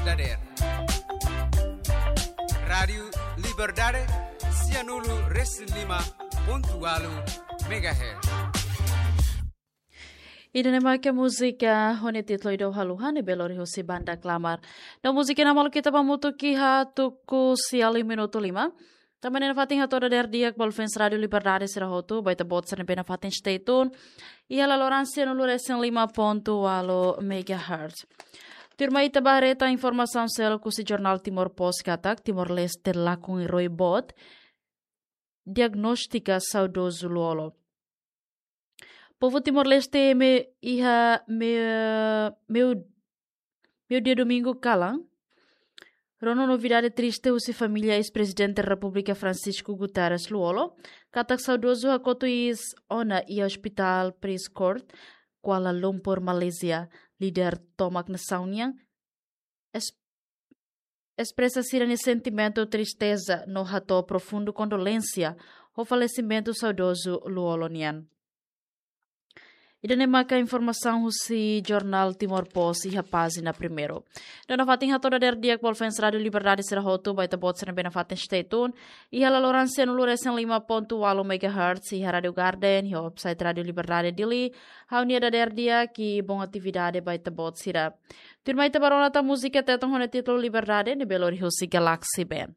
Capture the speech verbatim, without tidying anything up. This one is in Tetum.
Dader. Rádiu Liberdade, sianulu resin lima pontu walu megahertz. Ida-ne'e maka múzika ho nia títulu Ida Haluha ne'ebé lori husi banda Klamar. No múzika ne'e maluk ita ba hamutuk iha tuku sia liu minutu lima. Tanba ne'e nafatin hato'o dader di'ak ba fans Rádiu Liberdade sira hotu, ba ita-boot sira ne'ebé nafatin stay tune iha laloran sianulu resin lima pontu walu megahertz. Tuirmai ita ba haree tan informasaun seluk husi jornál Timor Post katak Timor-Leste lakon iroi boot diagnostika saudozu Lú-Olo. Povu Timor-Leste ema iha me, meu, meiudia domingu kalan rona novidade triste husi família eis-Prezidente Repúblika Francisco Guterres Lú-Olo, katak saudozu hakotu iis ona iha Hospital Prince Court, Kuala Lumpur, Malázia. Líder tomak nasaun nian es-, espresa sira-nia sentimentu tristeza no hato'o profundu kondolénsia ho falesimentu saudozu Lú-Olo nian. Ida-ne'e maka informasaun husi jornál Timor Post iha pájina primeiru. No nafatin hato'o dader di'ak ba fans Rádiu Liberdade sira hotu, ba ita-boot sira ne'ebé nafatin stay tune iha laloran sianulu resin lima pontu walu megahertz, iha Rádiu Garden, iha website Rádiu Liberdade Dili. Ha'u-nia dader di'ak i bom atividade ba ita-boot sira. Tuirmai ita ba rona tan múzika Tetun ho nia títulu Liberdade ne'ebé lori husi Galaxy Band.